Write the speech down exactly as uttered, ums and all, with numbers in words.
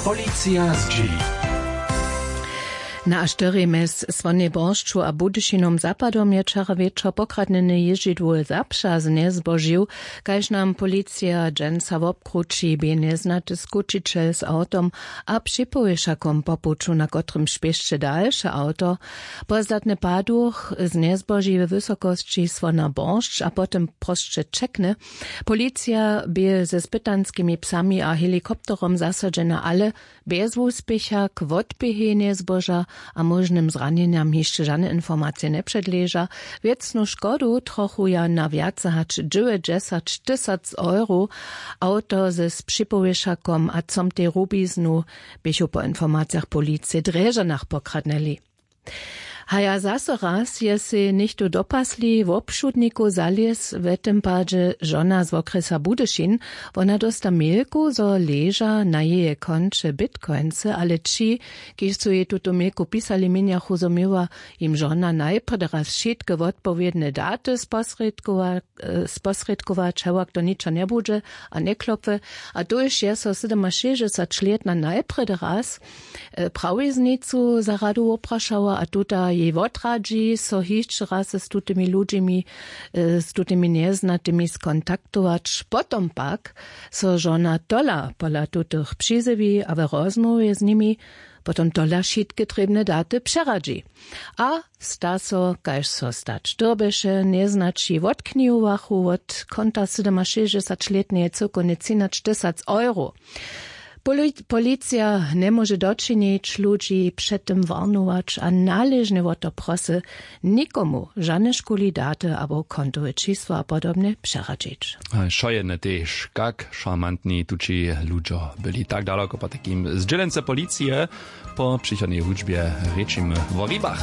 Policija zdźěli. Na a štyri mjez Słonjej Boršću a Budyšinom zapadom je wčera wječor pokradnjene jězdźidło zapřa znjezbožił, kaž nam policija dźensa wobkrući, bě njeznaty skućićel z awtom a připowěšakom po puću, na kotrymž běšće dalše awto. Pozdatny paduch znjezboži we wysokosći Słona Boršć a potom prosće ćekny. Policija bě ze spytanskimi psami a helikopterom zasadźena, ale bjez wuspěcha. K wotběhej njezboža a móžnym zranjenjam hišće žane informacije njepředleža. Wěcnu škodu trochuja na wjace hač dźewjećdźesat tysac euro. Awto z připowěšakom a comtej rubiznu běchu po informacijach policije w Drježdźanach pokradnyli. Haja zaso raz je sej něchtó dopasli wobšudnikow zalěz, w tym padźe žona z wokrjesa Budyšin. Wona dósta mělku, zo leža na jeje konće bitcoinsy, ale ći, kiž su jej tutu mělku pisali, měnjachu, zo měła jim žona najprjedy raz wšitke wotpowědne daty sposrědkowa- sposrědkować, hewak to ničo njebudźe a njeklopy. A tuž je so sydomašěsćdźesatlětna najprjedy raz prawiznicu za radu woprašała a tuta jej wotradźi, so hišće raz z tutymi ludźimi, z tutymi njeznatymi skontaktować. Potom pak so žona tola pola tutych přizjewi a w rozmołwje z nimi potom tola wšitke trěbne daty přeradźi. A sta so, kaž so stać dyrbješe, njeznaći wotknihowachu wot konta sydomašěsćdźesatlětneje cyłkownje třinaćtysac euro. Policija njemóže dočinić, ludźi před tym warnować a naležnje wo to prosy, nikomu žane škuli daty abo kontowe čisło a podobnje přeradźić. Šojene tež, kak šarmantni tući ludźo byli. Tak daloko potajkim zdźělence policije. Po přichodnej hudźbje rěčimy wo ribach.